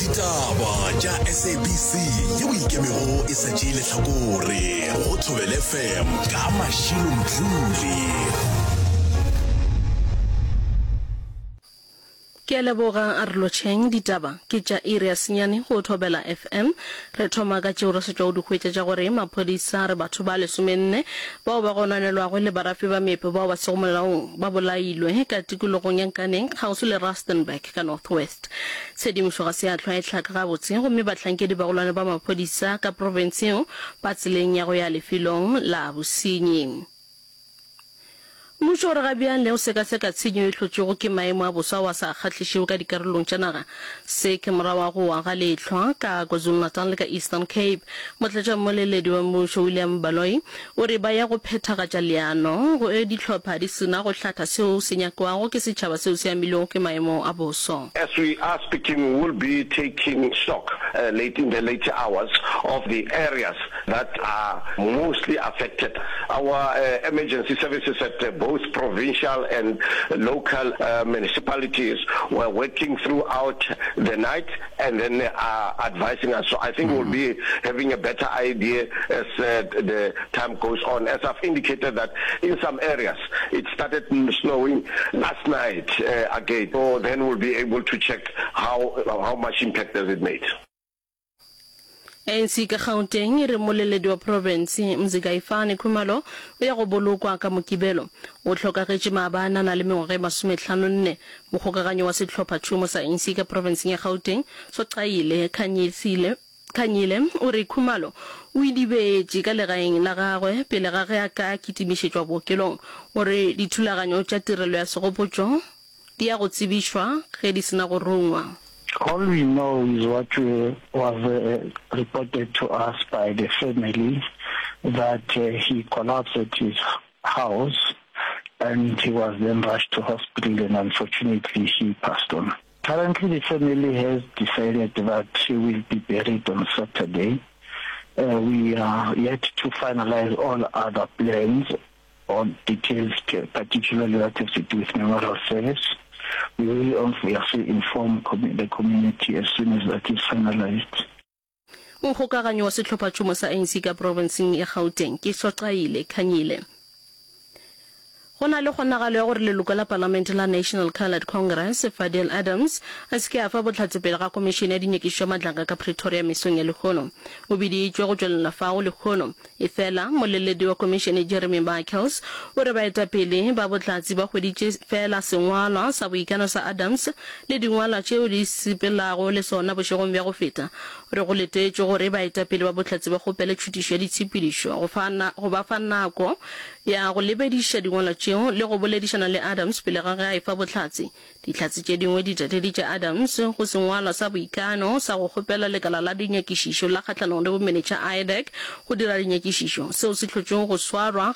Ditaba tša SABC yeo e ikemego e sa tšee lehlakore go Thobela FM ka Mashilo Mdluli. Ke a leboga, a re lotšheng. Ditaba ke tša iri ya senyane go Thobela FM. Re thoma ka tšeo re sa tšwago di hwetša tša gore maphodisa a re batho ba lesomenne bao ba gononelwago e le barafi ba meepo bao ba sego molaong ba bolailwe ka tikologong ya Nkaneng kgauswi le Rustenburg ka North West. Tshedimošo ga se ya hlwa e hlaka gabotse gomme bahlankedi bagolwane ba maphodisa ka profense yeo ba tseleng ya go ya lefelong la bosenyi. Mmušo o re ga bjale o sekaseka tshenyo e hlotšwego ke maemo a boso ao a sa kgahlišego ka dikarolong tša naga. Se ke morago ga go wa ga lehlwa ka KwaZulu-Natal le ka Eastern Cape. Motlatšammoleledi wa mmušo William Baloyi o re ba ya go phethagatša leano go ge dihlopha di se na go hlatha seo se nyakwago ke setšhaba seo se amilwego ke maemo a boso. As we are speaking, we will be taking stock late in the later hours of the areas that are mostly affected. Our emergency services at both provincial and local municipalities were working throughout the night and then are advising us. So I think we'll be having a better idea as the time goes on. As I've indicated that in some areas it started snowing last night again. So then we'll be able to check how, how much impact has it made. ANC ka Gauteng e re mmoleledi wa profense Mzikayifani Khumalo o ya go bolokwa ka Mokibelo. O hlokagetše maabane a na le mengwaga e masometlhanonne. Mokgokaganyi wa sehlophatšhomo sa ANC ka profenseng ya Gauteng, Soqayile Khanyisile Khanyile o re Khumalo o idibetše ka legaeng la gagwe pele ga ge a ka kitimišetšwa bookelong. O re dithulaganyo tša tirelo ya segopotšo di ya go tsebišwa ge di se na go rungwa. All we know is what was reported to us by the family that he collapsed at his house and he was then rushed to hospital and unfortunately he passed on. Currently the family has decided that he will be buried on Saturday. We are yet to finalize all other plans or details particularly that have to do with memorial service. We will obviously inform the community as soon as that is finalized. Mokgokaganyi wa sehlophatšhomo sa ANC ka profenseng ya Gauteng ke Soqayile Khanyile. Go na le kgonagalo ya gore leloko la palamente la National Coloured Congress, Fadiel Adams, a se ke a fa bohlatse pele ga Khomišene ya Dinyakišišo ya Matlanga ka Pretoria mesong ya lehono. O biditšwe go tšwelela fao lehono. Efela, moleledi wa komišene Jeremy Michaels o re baetapele ba bohlatse ba hweditše feela sengwalwa sa boikano sa Adams le dingwalwa tšeo di sepelago le sona bošegong bja go feta. O re go letetšwe gore baetapele ba bohlatse ba kgopele tšhutišo ya ditshepedišo go fa go ba fa nako ya go lebediša dingwalwa tšeo le go boledišana le Adams pele ga ge a efa bohlatse. Dihlatse tše dingwe di tateditše Adams go sengwalwa sa boikano sa go kgopela lekala la dinyakišišo la kgahlanong le bomenetša, IDAC, go dira dinyakišišo, seo se hlotšego go swarwa.